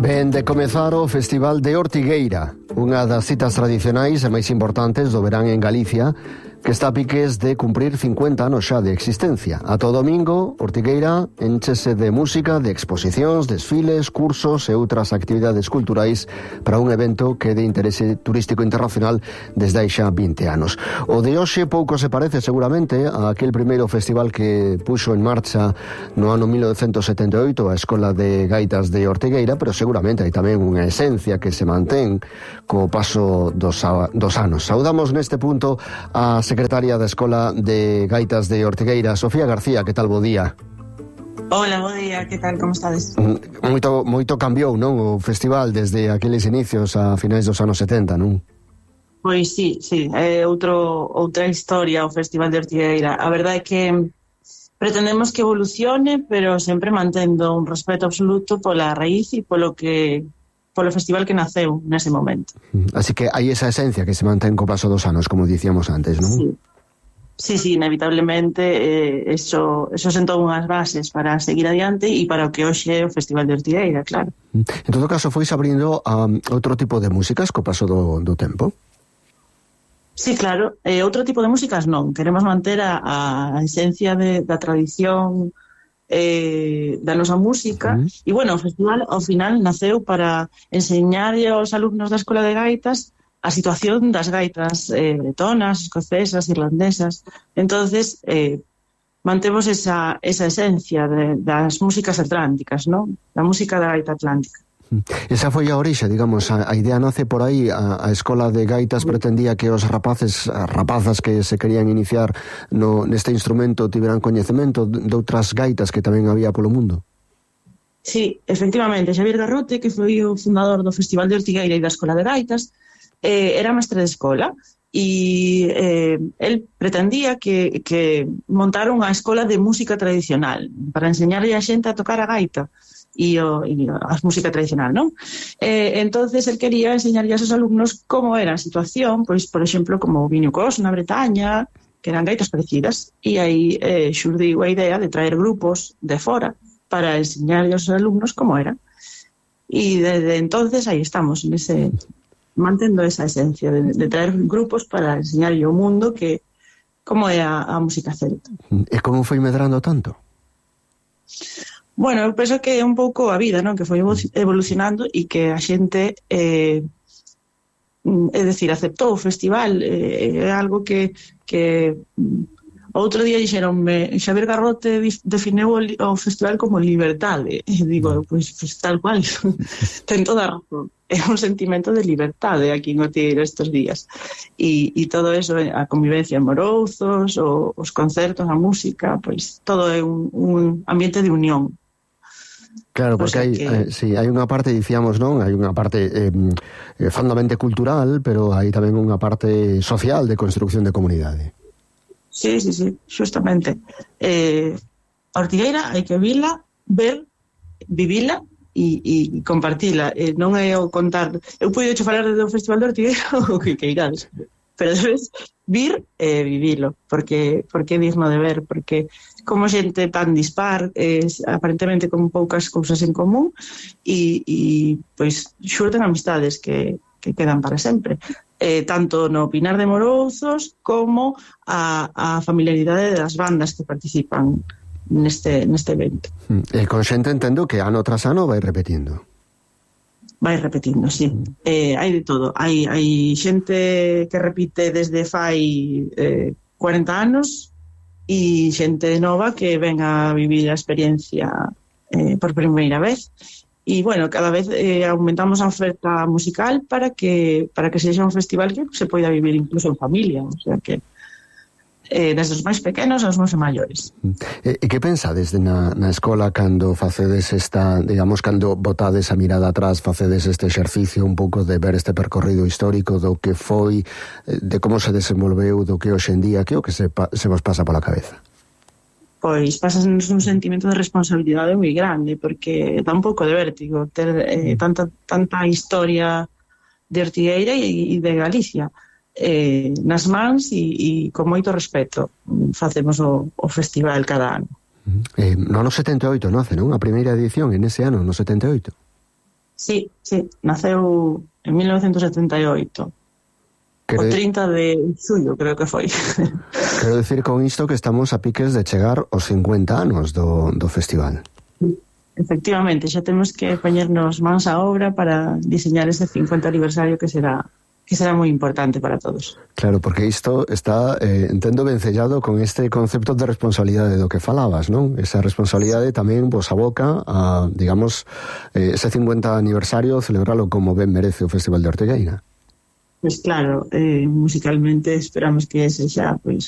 Ven de comezar o Festival de Ortigueira, unha das citas tradicionais e máis importantes do verán en Galicia, que está a piques de cumprir 50 anos xa de existencia. Ata o domingo, Ortigueira enchese de música, de exposicións, desfiles, cursos e outras actividades culturais para un evento que é de interese turístico internacional desde hai xa 20 anos. O de hoxe pouco se parece seguramente a aquel primeiro festival que puxo en marcha no ano 1978 a Escola de Gaitas de Ortigueira, pero seguramente hai tamén unha esencia que se mantén co paso dos anos. Saudamos neste punto a secretaria da Escola de Gaitas de Ortigueira, Sofía García. Que tal, bo día? Hola, bo día, que tal, como estades? Moito cambiou, non, o festival desde aqueles inicios a finais dos anos 70, non? Pois sí, é outra historia o Festival de Ortigueira. A verdade é que pretendemos que evolucione, pero sempre mantendo un respeto absoluto pola raíz e polo festival que naceu nese momento. Así que hai esa esencia que se mantén co paso dos anos, como dicíamos antes, non? Sí, inevitablemente eso sentou unhas bases para seguir adiante e para o que hoxe é o Festival de Ortigueira, claro. En todo caso, foi abrindo a outro tipo de músicas co paso do tempo? Sí, claro, outro tipo de músicas non. Queremos manter a esencia da tradición da nosa música e, bueno, o festival ao final naceu para enseñarlle aos alumnos da Escola de Gaitas a situación das gaitas bretonas, escocesas, irlandesas. Entonces mantemos esa esencia das músicas atlánticas, non? Da música da gaita atlántica. Esa foi a orixe, digamos, a idea nace por aí. A Escola de Gaitas pretendía que os rapazas que se querían iniciar neste instrumento tiveran coñecemento de outras gaitas que tamén había polo mundo. Sí, efectivamente, Xavier Garrote, que foi o fundador do Festival de Ortigueira e da Escola de Gaitas, era mestre de escola e el pretendía que montar unha escola de música tradicional para enseñarlle a xente a tocar a gaita e a música tradicional, non? Entonces el quería enseñarlle a esos alumnos como era a situación, pois, por exemplo, como o Viño Cos na Bretaña, que eran gaitas parecidas, e aí xurdiu a idea de traer grupos de fora para enseñarlle aos alumnos como era. E desde entonces aí estamos, mantendo esa esencia de traer grupos para enseñarlle ao mundo como é a música celta. E como foi medrando tanto? Bueno, eu penso que é un pouco a vida, non? Que foi evolucionando e que a xente aceptou o festival. É algo que outro día dixeronme, Xavier Garrote defineu o festival como liberdade. E digo, pois tal cual, ten toda a razón. É un sentimento de liberdade aquí en Ortigueira estes días. E todo eso, a convivencia en Morouzos, os concertos, a música, pois todo é un ambiente de unión. Claro, porque hai unha parte, dicíamos, non? Hai unha parte fondamente cultural, pero hai tamén unha parte social de construcción de comunidade. Sí, justamente. Ortigueira hai que vila, ver, vivila e compartila. Non é o contar. Eu podo falar do Festival de Ortigueira o que queirades, pero debes vir e vivilo, porque é digno de ver, porque como xente tan dispar, aparentemente con poucas cousas en común, e pois xurten amistades que quedan para sempre. Tanto no Pinar de Morouzos como a familiaridade das bandas que participan neste evento. E con xente entendo que ano tras ano vai repetindo. Vai repetindo, sí. Hai de todo. Hai xente que repite desde fai 40 anos e xente nova que ven a vivir a experiencia por primeira vez. E, bueno, cada vez aumentamos a oferta musical para que sexa un festival que se poida vivir incluso en familia. O sea que desde os máis pequenos aos máis maiores. E que pensades na escola cando facedes cando botades a mirada atrás, facedes este exercicio un pouco de ver este percorrido histórico do que foi, de como se desenvolveu, do que hoxe en día, que é o que se vos pasa pola cabeza? Pois pasanos un sentimento de responsabilidade moi grande, porque dá un pouco de vértigo ter tanta historia de Ortigueira e de Galicia nas mans e con moito respeto facemos o festival cada ano. No ano 78 nace, non? A primeira edición en ese ano, no 78. Sí, naceu en 1978. O 30 de xullo, creo que foi. Quero dicir con isto que estamos a piques de chegar aos 50 anos do festival. Efectivamente, xa temos que poñernos mans á obra para diseñar ese 50 aniversario que será moi importante para todos. Claro, porque isto está, entendo, vencellado con este concepto de responsabilidade do que falabas, non? Esa responsabilidade tamén vos aboca a, digamos, ese 50 aniversario, celebralo como ben merece o Festival de Ortigueira. Pois claro, musicalmente esperamos que ese xa, pois,